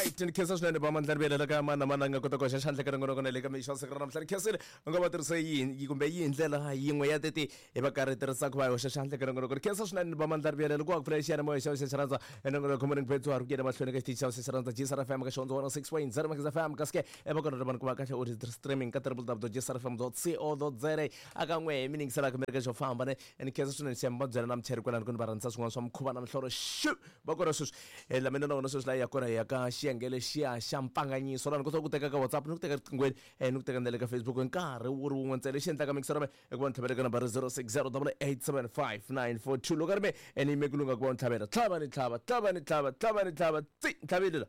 Alright, ni khensa swinene va mandla rivelela ka mana mana nga kota ku hoxa xandla ka rin'wana kona le ka mixo siku ra namuntlha. Ni khensile u nga va tirhisa yini kumbe yihi ndlela yin'we ya teti hi va karhi tirhisaka va hoxa xandla ka rin'wana kona. Khensa swinene va mandla rivelela ku va ku pfula xiyanimoya xa xa xirhandza enongonoko wa Morning Bets wa ri ku yena mahlweni ka xitichi xa xa xirhandza GSR FM ka xihondzo 106.0 Magezi FM kasi ke e va kona ri vanhu ku va kahle u ri streaming ka www.gsrfm.co.za aka n'we mi ningiselaka mi ri ka xo famba ne ni khensa swinene xiyama va byela na muchayeri kwalano ku ni va rhandzisa swin'wana swa mikhuva na mihlolo xu va kona sweswi. La mina na wona sweswi la ya kona hi ya ka xiyenge lexiya xa mpfanganyiso laha ni kota ku teka ka WhatsApp ni ku teka riqinghweni ni ku teka na le ka Facebook hi nkarhi wu ri wun'we ntsena. Lexi endlaka mixer me i ku va ni tlhavela ka nambara 0608875942 loko a ri me ni yime ku lunga ku va ni tlhavela tlhava ni tlhava tlhava ni tlhava tlhava ni tlhava tsi ni tlhavile la.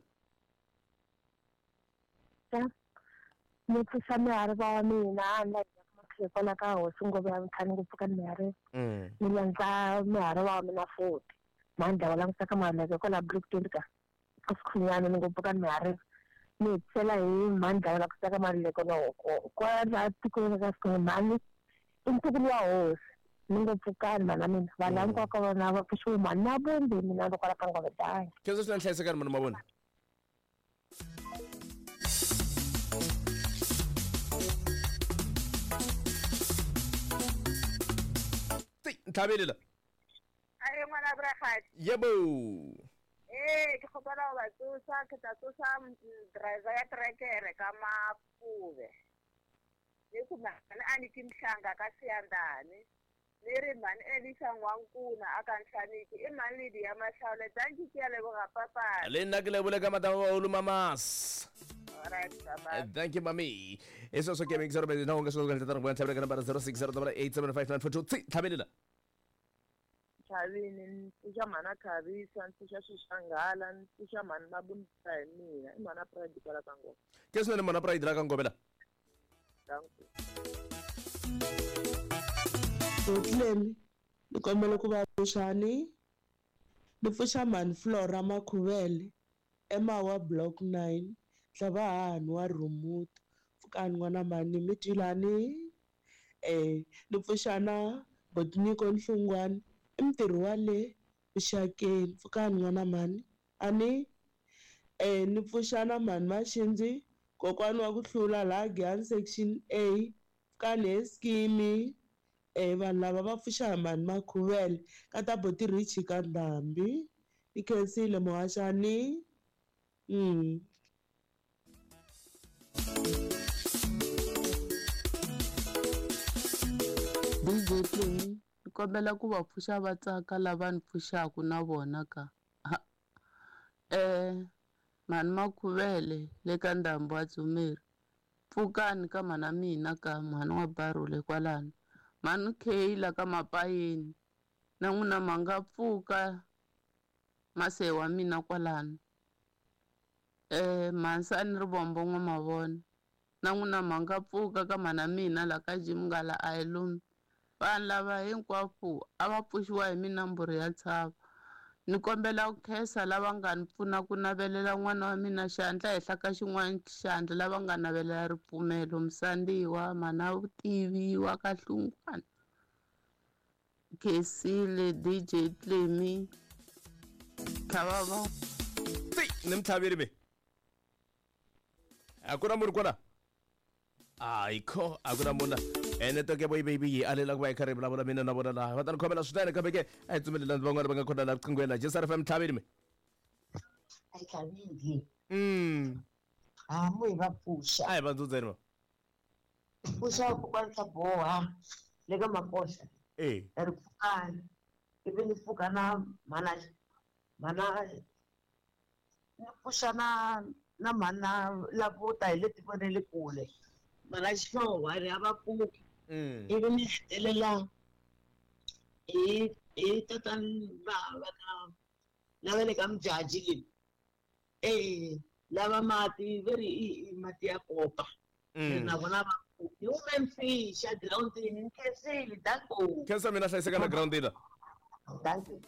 Ni pfuxa mihariva wa mina na hikwalaho ka hosi ngopfu ya ntlhanu ngopfu ka mihari ni landza mihariva wa mina futhi mhani wa langutisa ka maleke kwala Bloemfontein ka ka Sikhunyana ni ngopfu ka mihari ni hetisela hi mhani wa langutisa ka maleke no kwala tikweni ka Sikhunyana mhani i ntukulu wa hosi ni ngopfu kani mhana mina vanhu hinkwavo ka vona va pfuxiwe mhani na vumbi mina ro kwala ka ngove dangi. Khensa swinene hlayisekani mhani mavona. Ntlhaveli la. Ae ngwana Bragadi. Yebo. Ee, ke kgopela go ba tsosa, ke tla tsosa driver ya trekere ka Mapube. Ni ku mhani a ni ki mhlanga ka Siyandhani. Ni ri mhani Elisa N'wankuna a ka Nhlaniki i mhani Lidi ya Mahlawule. Dankie ke a leboga papa. Le nna ke lebole ka matama baholo mamas. Alright, bye-bye. Thank you mami. I sweswo ke mixer na u nga swi kota ku ndlela ta tlhavela ka nambara 0608875942 tsi tlhaveli la. Chavini ni pfuxa mhana Khavisa ni pfuxa Xixanghala ni pfuxa mhani Mabunda hi mina i mhana Pride kwala ka Ngome. Ke swinene mhana Pride la ka Ngome la. Dankie. Bethlehem ni kombela ku va pfuxani ni pfuxa mhani Flora Makhuvele eMawa Block 9 Tlhava hahani wa Rhumuti pfukani n'wana mhani mi twilani ni pfuxa na Botniko Nhlungwani i mutirhi wa le vuxakeni pfukani n'wana mhani a ni ni pfuxa na mhani Maxindzi kokwani wa ku hlula laha Giyani section A pfukani he Skimi vanhu lava va pfuxa hi mhani Makhuvele ka ta Boti Richie ka Ndhambi ni khensile muhaxani. DJ Play ni kombela ku va pfuxa va tsaka lava ni pfuxaku na vona ka mhani Makhuvele le ka Ndhambi wa Dzumeri pfukani ka mhana mina ka mhani wa Barule kwalano mhani K la ka Mapayeni na n'wina ma nga pfuka mase wa mina kwalano mhansani Rivombo n'wa mavona na n'wina ma nga pfuka ka mhana mina la ka Jim Ngala a hi lumi vanhu lava hinkwavo a va pfuxiwa hi minamburu ya ntshava ni kombela ku khensa lava nga ni pfuna ku navelela n'wana wa mina xandla henhla ka xin'wana xandla lava nga navelela ripfumelo Musandiwa mhana Vutivi wa ka Hlungwana Khensile DJ Clemy Tlhavava Tsi ni mtlhaveri me. A ku na munhu kwala? Ayikho, a ku na munhu la. Network ya baby yi alela ku va yi karhi yi vulavula mina na vona laha. Va ta ni khomela swinene kambe ke a hi pfumelelani van'wana va nga kona laha riqinghweni la. JSR FM tlhaveli me. A yi tlhaveli. Hamu hi va pfuxa. A hi va ndzundzeni va. Pfuxa kokwani swa boha le ka Makosa. Ri pfukani. Ivi ni pfuka na mhana mhana ni pfuxa na na mhana lavo ta hi le tikweni ra le kule. Mhana Xihlowa ri a va pfuki. Ivi ni hetelela hi hi tatani va va ka lava le ka Mjaji le. Lava mati ve ri i mati ya kopa. Na vona va hi hume mfixa girawundini ni khensile danko. Khensa mina hlayiseka na girawundini la. Danko.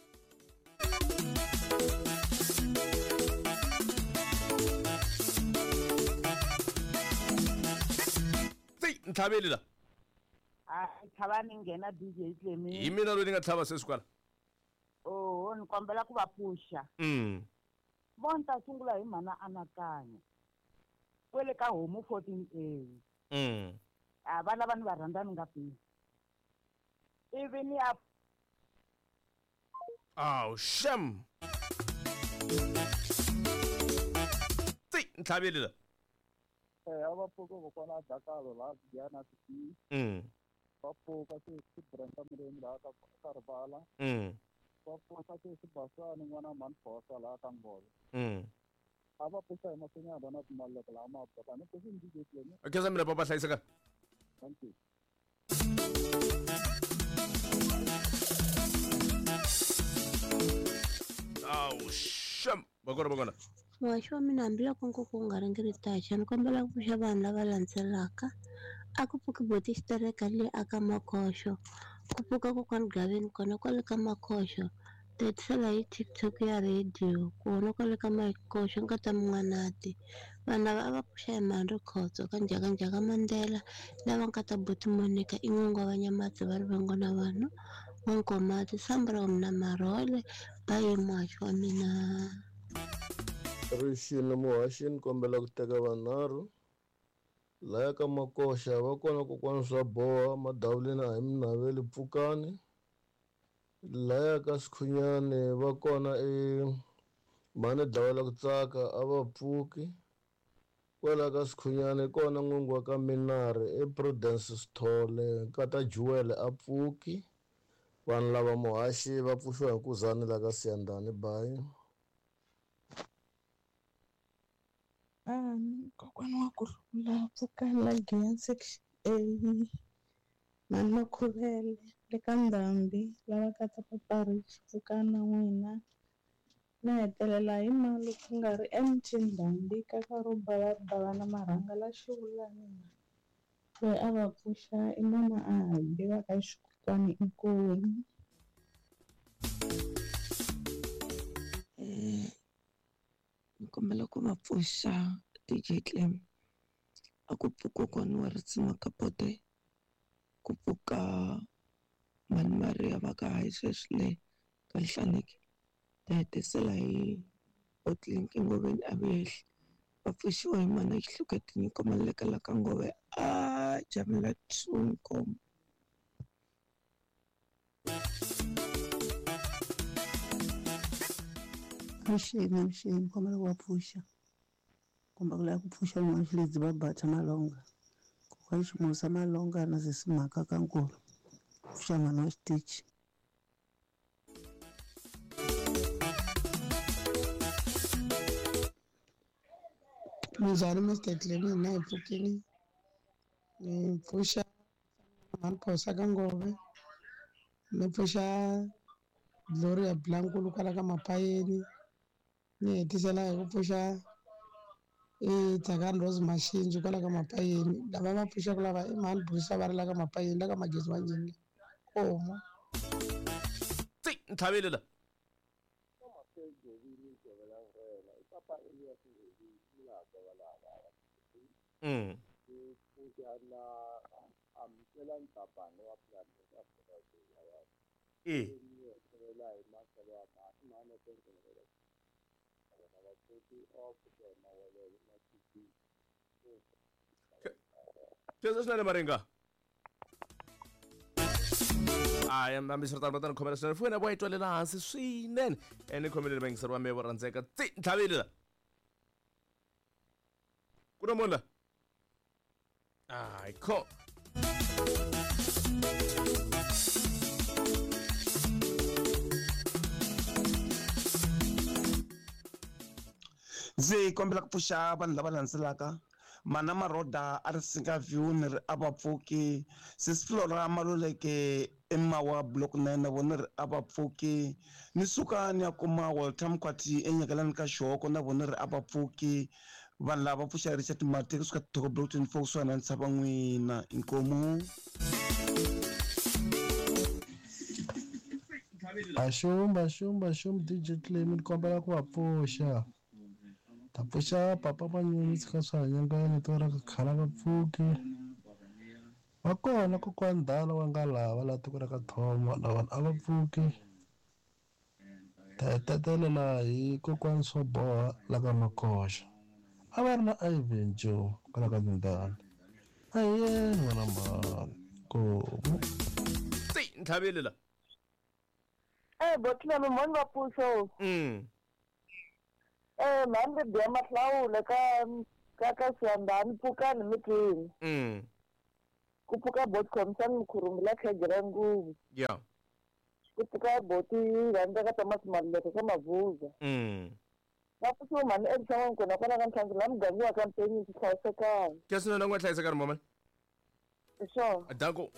Tsi ntlhaveli la. Tlhava ni nghena DJ Clemy. Hi mina loyi ni nga tlhava sweswi kwala. Oh, ni kombela ku va pfuxa. Mo ni ta sungula hi mhana anakanya. Kwele ka homu 14A. A va lava ni va rhandza ni nga pimi. Ivi ni ya Aw, shem. Tsi, ntlhaveli la. A va pfuka kokwana a Dakalo laha Giyani City. Va pfuka sesi Brenda Mulemi laha ka Rivala. Va pfuka sesi Basani n'wana mhani Phosa laha ka Ngolo. A va pfuxa hi masinyana na timaleko laha mabaka. Ni pfuxi ni DJ Clemi. Khensa mina papa hlayiseka. Thank you. Aw, shem. Vakona vakona. Muhaxi wa mina hambiloko nkuku wu nga ringiritaxa ni kombela ku pfuxa vanhu lava landzelaka a ku pfuki boti xitereka le aka Makhoxo ku pfuka kokwani Gaveni kona kwale ka Makhoxo ta hetisela hi TikTok ya radio kona kwale ka Makhoxo nkata Mun'wanati vanhu lava a va pfuxa hi mhani Rikhotso ka Njhakanjhaka Mandela lava nkata boti Monica i n'wingi wa Vanyamatsi va rivengo na vanhu N'wankomati Sambra wa mina Marhole bayi muhaxi wa mina. Rixini muhaxi ni kombela ku teka vanharhu laya ka Makoxa va kona kokwana swa boha madavuleni a hi mi naveli pfukani laya ka Sikhunyani va kona i mhani dlawela ku tsaka a va pfuki kwala ka Sikhunyani kona n'wingi wa ka Minari i Prudence Sithole nkata Jewel a pfuki vanhu lava muhaxi va pfuxiwa hi nkuzani la ka Siyandhani bayi. Kokwana wa kurhula pfukani la Giyani section A mhani Makhuvele le ka Ndhambi lava ka ta Papa Rich pfukani na n'wina na hetelela hi mali ku nga ri MT Ndhambi ka ka ro bava na marhanga la xivulani loyi a va pfuxa i mama a hambi va ka xikokwani inkomu. Ni kombela ku va pfuxa DJ Clem a ku pfuka kokwana wa Ritsima Kapote ku pfuka mhani Maria va ka hayi sweswi le ka Nhlaneki ta hetisela hi Otlink Ngoveni a vehli va pfuxiwa hi mhana Xihluke Tinyiko Maleka la ka Ngove a Jamela 2 Nkomo. Mxeni mxeni kombela ku va pfuxa kumbe ku lava ku pfuxa n'wana Xiledzi va Batha Malonga kokwana Ximusa Malonga na sesi Mhaka ka Nkulu pfuxa n'wana wa xitichi. Minjhani Mr Clemi hina hi pfukile ni pfuxa mhani Phosa ka Ngove ni pfuxa Gloria Blankulu kwala ka Mapayeni ni hetisela hi ku pfuxa i Tsakani Rose Mashinji kwala ka Mapayeni lava va pfuxaka lava i mhani Brusa va ri la ka Mapayeni la ka Magezi wa Njhini komo. Tsi ntlhaveli la. Khensa swinene Maringa. Hayi hambiswiritano va ta ni khomela swinene foyini ya vo yi twalela hansi swinene ni khomelele vayingiseri va mehe vo rhandzeka tsi ntlhaveli la ku na munhu la hayi kho. Ndzi kombela ku pfuxa vanhu lava landzelaka mana Maroda a ri singa view ni ri a va pfuki sesi Flora Maluleke emawa block 9 na vona ri a va pfuki ni suka ni ya kuma Walter Mkwati enyakelani ka Xihoko na vona ri a va pfuki vanhu lava pfuxa Richard Mate kusuka Thoko block 24 kusuka na ntshava n'wina inkomu. Axumba axumba axumba DJ Clemi ni kombela ku va pfuxa ta pfuxa papa Manyunyu tshika swa hanyangani to ra khala va pfuki va kona kokwani Dala wa nga lava la tiko ra ka Thoma na vanhu a va pfuki Ta hi tetelela hi kokwani swo boha la ka Makoxa. A va ri na Ivan Joe kwala ka Ndindani. A hi yeni n'wana mhani. Nkomu. Tsi, ntlhavile la. Eh, botlelo mhani va pfuxo. Eh, mhani ri biya mahlawula ka ka ka Siyandhani pfukani mi twini. Ku pfuka boti khomisani Mkhurumbi la khege ra nguvu. Ya. Ku pfuka boti rhandza ka Thomas Maluleke ka Mavuza. Va pfuxiwe mhani Elisa N'wankona kwala ka Ntlhantlho la muganga wa ka Mpenyi swi hlayisekanga. Ke swinene u nga hlayisekani mama. Hi swona. Danko.